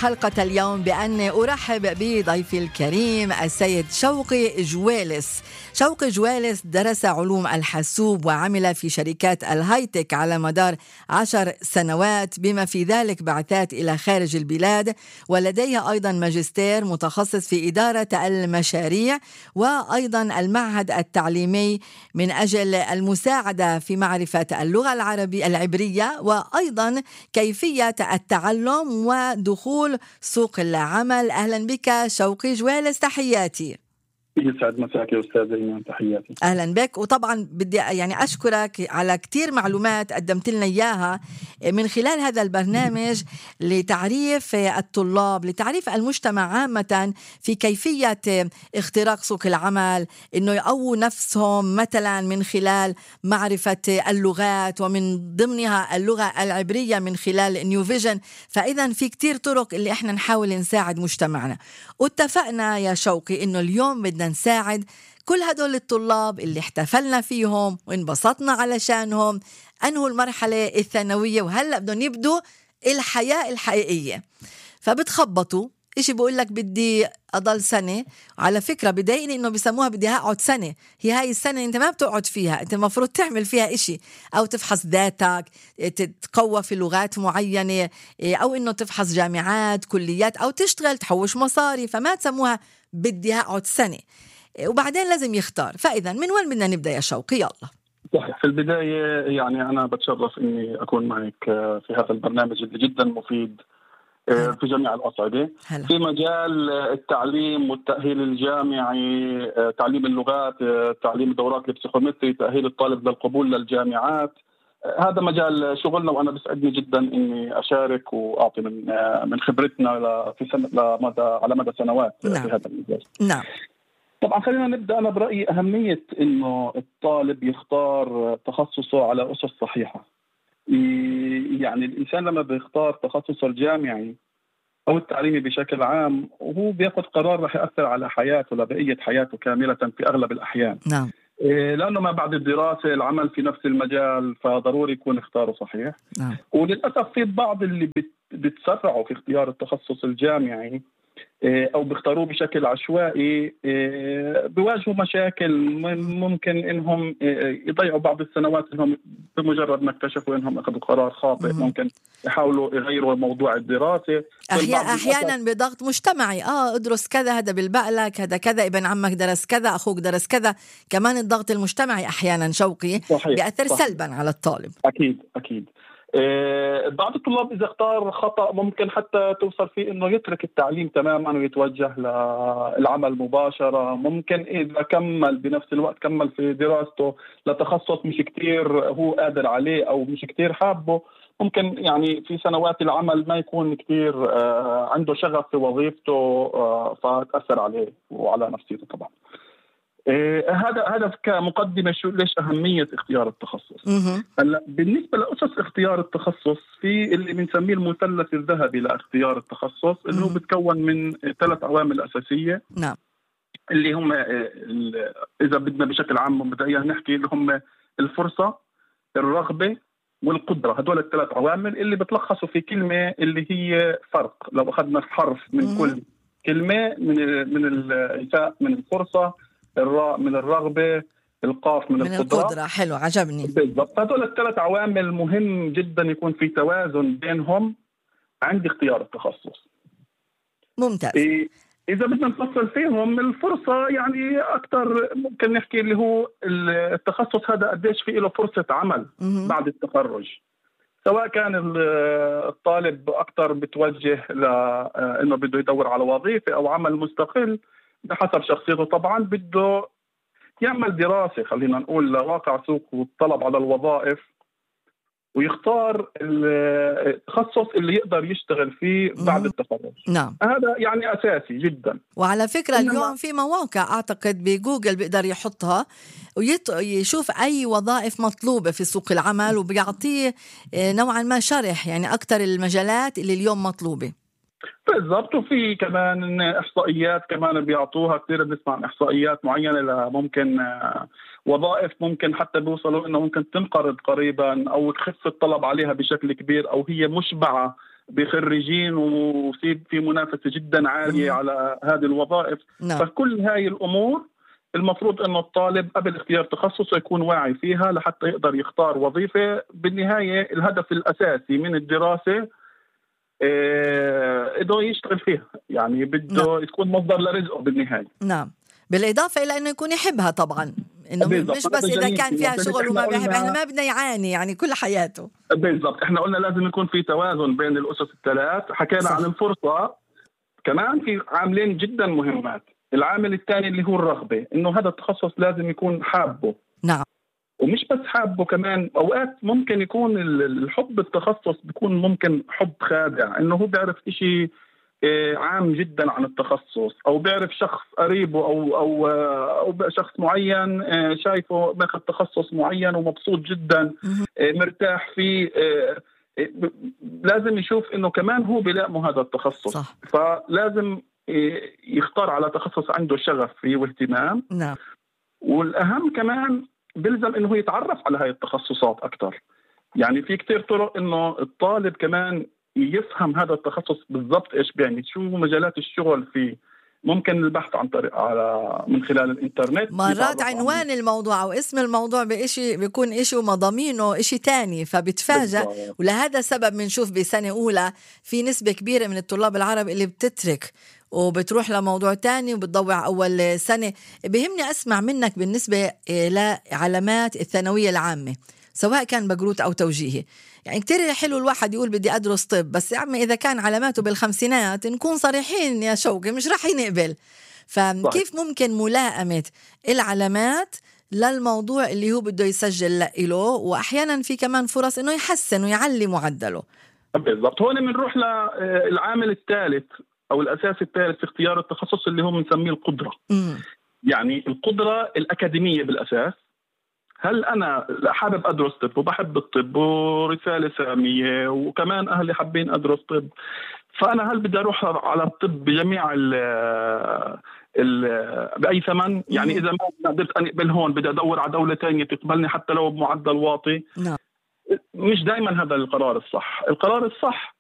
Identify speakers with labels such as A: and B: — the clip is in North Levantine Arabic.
A: حلقة اليوم بأن أرحب بضيفي الكريم السيد شوقي جويلس. شوقي جويلس درس علوم الحاسوب وعمل في شركات الهايتك على مدار 10 سنوات، بما في ذلك بعثات إلى خارج البلاد، ولديه أيضا ماجستير متخصص في إدارة المشاريع، وأيضا المعهد التعليمي من أجل المساعدة في معرفة اللغة العبرية، وأيضا كيفية التعلم ودخول سوق العمل. أهلا بك شوقي جويلس، تحياتي.
B: يسعد مساك يا أستاذ إيمان، تحياتي.
A: أهلا بك. وطبعا بدي أشكرك على كتير معلومات قدمت لنا إياها من خلال هذا البرنامج لتعريف الطلاب، لتعريف المجتمع عامة في كيفية اختراق سوق العمل، إنه يقووا نفسهم مثلا من خلال معرفة اللغات، ومن ضمنها اللغة العبرية من خلال نيو فيجن. فإذا في كتير طرق اللي إحنا نحاول نساعد مجتمعنا. واتفقنا يا شوقي إنه اليوم بدنا نساعد كل هدول الطلاب اللي احتفلنا فيهم وانبسطنا علشانهم، أنهوا المرحلة الثانوية وهلأ بدهم يبدوا الحياة الحقيقية. فبتخبطوا إشي بقول لك بدي أضل سنة. على فكرة بدايقني إنه بيسموها بدي أقعد سنة. هي هاي السنة أنت ما بتقعد فيها، أنت المفروض تعمل فيها إشي، أو تفحص ذاتك، تتقوى في لغات معينة، أو إنه تفحص جامعات، كليات، أو تشتغل تحوش مصاري. فما تسموها بدي أقعد سنة، وبعدين لازم يختار. فإذا من وين بدنا نبدأ يا شوقي؟ يلا.
B: صحيح. في البداية يعني أنا بتشرف إني أكون معك في هذا البرنامج اللي جدا مفيد في جميع الأصعدة في مجال التعليم والتأهيل الجامعي، تعليم اللغات، تعليم دورات البسيكومتري، تأهيل الطالب للقبول للجامعات. هذا مجال شغلنا، وأنا بسعدني جدا إني أشارك وأعطي من خبرتنا على مدى سنوات في هذا المجال.
A: نعم.
B: طبعا خلينا نبدأ. أنا برأيي أهمية إنه الطالب يختار تخصصه على أسس صحيحة. يعني الإنسان لما بيختار تخصصه الجامعي أو التعليمي بشكل عام، وهو بياخد قرار رح يأثر على حياته لبقية حياته كاملة في أغلب الأحيان.
A: نعم.
B: لأنه ما بعد الدراسة العمل في نفس المجال، فضروري يكون اختاره صحيح.
A: نعم.
B: وللأسف في بعض اللي بتسرعوا في اختيار التخصص الجامعي أو بيختاروه بشكل عشوائي، بيواجهوا مشاكل. ممكن إنهم يضيعوا بعض السنوات إنهم بمجرد ما اكتشفوا إنهم أخذوا قرار خاطئ. ممكن يحاولوا يغيروا موضوع الدراسة.
A: أحيانا بضغط مجتمعي، ادرس كذا، هذا بالبقلك، هذا كذا، ابن عمك درس كذا، أخوك درس كذا. كمان الضغط المجتمعي أحيانا شوقي بيأثر سلبا على الطالب.
B: أكيد. بعض الطلاب إذا اختار خطأ ممكن حتى توصل فيه إنه يترك التعليم تماما ويتوجه للعمل مباشرة. ممكن إذا كمل بنفس الوقت كمل في دراسته لتخصص مش كتير هو قادر عليه أو مش كتير حابه، ممكن يعني في سنوات العمل ما يكون كتير عنده شغف في وظيفته، فتأثر عليه وعلى نفسيته طبعا. هذا كمقدمة ليش أهمية اختيار التخصص. هلا بالنسبة لأسس اختيار التخصص، في اللي بنسميه المثلث الذهبي لاختيار التخصص، اللي هو بتكون من 3 عوامل أساسية.
A: نعم.
B: اللي هم إذا بدنا بشكل عام مبدئيا نحكي، اللي هم الفرصة، الرغبة، والقدرة. هدول ال3 عوامل اللي بتلخصوا في كلمة اللي هي فرق. لو أخذنا حرف من كل كلمة، من الإنسان من الفرصة، الراء من الرغبة، القاف من القدرة.
A: حلو، عجبني.
B: بالضبط. هذول ال3 عوامل مهم جدا يكون في توازن بينهم عند اختيار التخصص.
A: ممتاز.
B: إذا بدنا نفصل فيهم، الفرصة يعني أكتر ممكن نحكي اللي هو التخصص هذا قديش فيه له فرصة عمل بعد التخرج. سواء كان الطالب أكتر بتوجه لأنه بده يدور على وظيفة أو عمل مستقل بحسب شخصيته. طبعا بده يعمل دراسة، خلينا نقول، لواقع سوق والطلب على الوظائف، ويختار التخصص اللي يقدر يشتغل فيه بعد التخرج.
A: نعم.
B: هذا يعني أساسي جدا.
A: وعلى فكرة اليوم في مواقع أعتقد بجوجل بيقدر يحطها ويشوف أي وظائف مطلوبة في سوق العمل، وبيعطيه نوعا ما شرح يعني أكتر المجالات اللي اليوم مطلوبة.
B: بالضبط. وفي كمان إحصائيات كمان بيعطوها كثير. بنسمع عن إحصائيات معينة ممكن وظائف ممكن حتى بيوصلوا إنه ممكن تنقرض قريبا أو تخف الطلب عليها بشكل كبير، أو هي مشبعة بخريجين وفي منافسة جدا عالية على هذه الوظائف. فكل هاي الأمور المفروض أنه الطالب قبل اختيار تخصصه يكون واعي فيها لحتى يقدر يختار وظيفة. بالنهاية الهدف الأساسي من الدراسة إنه يشتغل فيها، يعني بده تكون مصدر لرزقه بالنهاية.
A: نعم، بالإضافة إلى أنه يكون يحبها طبعا، إنه مش بس إذا كان فيها شغل وما بيحب، إحنا ما بدنا يعاني يعني كل حياته.
B: بالضبط، إحنا قلنا لازم يكون في توازن بين الأسس الثلاث. حكينا عن الفرصة، كمان في عاملين جدا مهمات. العامل الثاني اللي هو الرغبة، إنه هذا التخصص لازم يكون حابه.
A: نعم،
B: ومش بس حابه، كمان أوقات ممكن يكون الحب التخصص بيكون ممكن حب خادع، إنه هو بيعرف إشي عام جدا عن التخصص، أو بيعرف شخص قريبه أو شخص معين شايفه ماخذ تخصص معين ومبسوط جدا مرتاح فيه. لازم يشوف إنه كمان هو بيلائمه هذا التخصص.
A: صح.
B: فلازم يختار على تخصص عنده شغف فيه واهتمام.
A: نعم.
B: والأهم كمان بلزم إنه هو يتعرف على هاي التخصصات أكتر. يعني في كتير طرق إنه الطالب كمان يفهم هذا التخصص بالضبط إيش بيعني، شو مجالات الشغل فيه. ممكن البحث عن طريق من خلال الإنترنت.
A: مرات عنوان الموضوع أو اسم الموضوع بإشي بيكون إشي ومضامينه إشي تاني، فبتفاجأ. ولهذا السبب بنشوف بسنة أولى في نسبة كبيرة من الطلاب العرب اللي بتترك وبتروح لموضوع تاني وبتضوع أول سنة. بهمني أسمع منك بالنسبة لعلامات الثانوية العامة، سواء كان بقروت أو توجيهي. يعني كتير حلو الواحد يقول بدي أدرس طب، بس يا عمي إذا كان علاماته بالخمسينات نكون صريحين يا شوقي مش رح ينقبل. فكيف ممكن ملائمة العلامات للموضوع اللي هو بده يسجل له، وأحيانا في كمان فرص إنه يحسن ويعلي معدله؟
B: بالضبط، هون بنروح للعامل الثالث أو الأساس الثالث في اختيار التخصص اللي هو بنسميه القدرة. يعني القدرة الأكاديمية بالأساس. هل أنا حابب أدرس طب وبحب الطب ورسالة سامية وكمان أهلي حابين أدرس طب، فأنا هل بدي أروح على الطب بجميع بأي ثمن؟ يعني إذا ما قدرت أقبل هون بدي أدور على دولة تانية تقبلني حتى لو بمعدل واطي.
A: نعم.
B: مش دائما هذا القرار الصح. القرار الصح